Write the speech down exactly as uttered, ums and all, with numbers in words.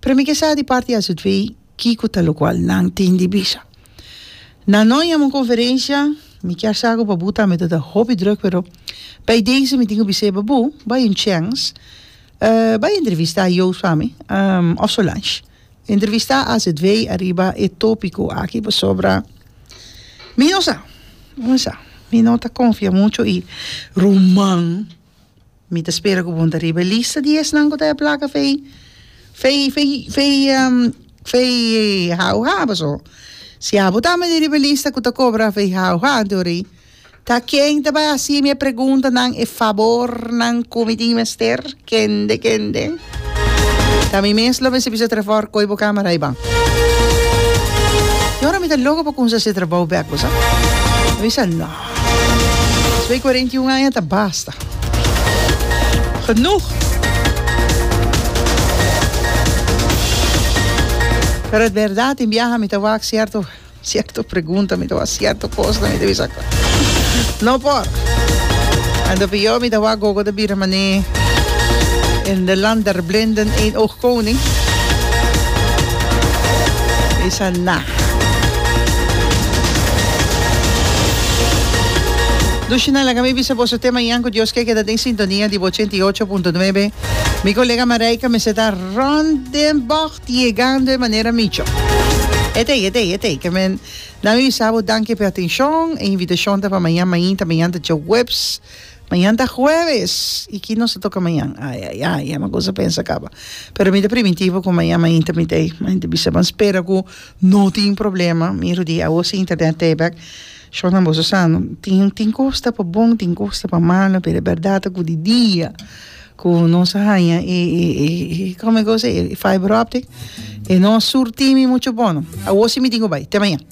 Pero mi ke sa di parti A Z V kiko ta lokual nan tin di bisa. Nan no yama un konferensia, mi kier sa ku Babu tambe ta hopi druk, pero bij deze mi tin ku bisa Babu, bai un chance, uh, bai entrevistá Joost pa mi, um, of Solange. Entrevistá A Z V ariba e tópiko aki sobre. Mi no sa, no sa. Mi no ta konfia muchu i ruman. Mi ta spera ku bo n' ta riba lista di esnan ku ta plaka fei fei fei fei um, fei hau ha so. Si abo tambe riba lista ku ta kobra fei hau ha dori. Ta ken ta bai hasi mi preguntanan e fabornan ku mi tin mester kende kende. Ta mi mes lo mester bisa Trevor koi bo kamera i ban. I ora mi ta loko pa kuminsá hasi trabou bèk, bo sa? Mi bisa no. kuarenta i un aña ta basta. Genoeg. Pero e berdat, en biaha mi ta wak sierto sierto pregunta, mi ta wak sierto kos, mi ta bisa no por. En pió mi ta wak gogo ta bira mané in de land der blinden één oog koning. Bisa na. Dushina, laga mi bisa boso te mañan ku Dios ke keda den sintonia di ochenta i ocho punto nuebe. Mi kolega Marijke me ta rond den bocht yegando di manera micho. Etei, etei, etei. Ke men, na mi bisa bo danki pa atenshon e invitashon ta pa mañan, mañan, mañan ta djaweps. Mañan ta jueves. I ki nos ta toka mañan? Ai, ai, ai, e kos pensa kaba. Pero mi ta primintí bo ku mañan, mañan mi tei. Mañan bisa ban spera ku no tin problema. Miro di awo si internet tei bèk. Shona boso sa no. Tin tin kos ta pa bon, tin kos ta pa malu, pero e berdat ku di dia ku nos a haña e e e e kon e kos e fiber optic e no surti mi muchu bon. Awo si mi tin ku bai. Te mañan.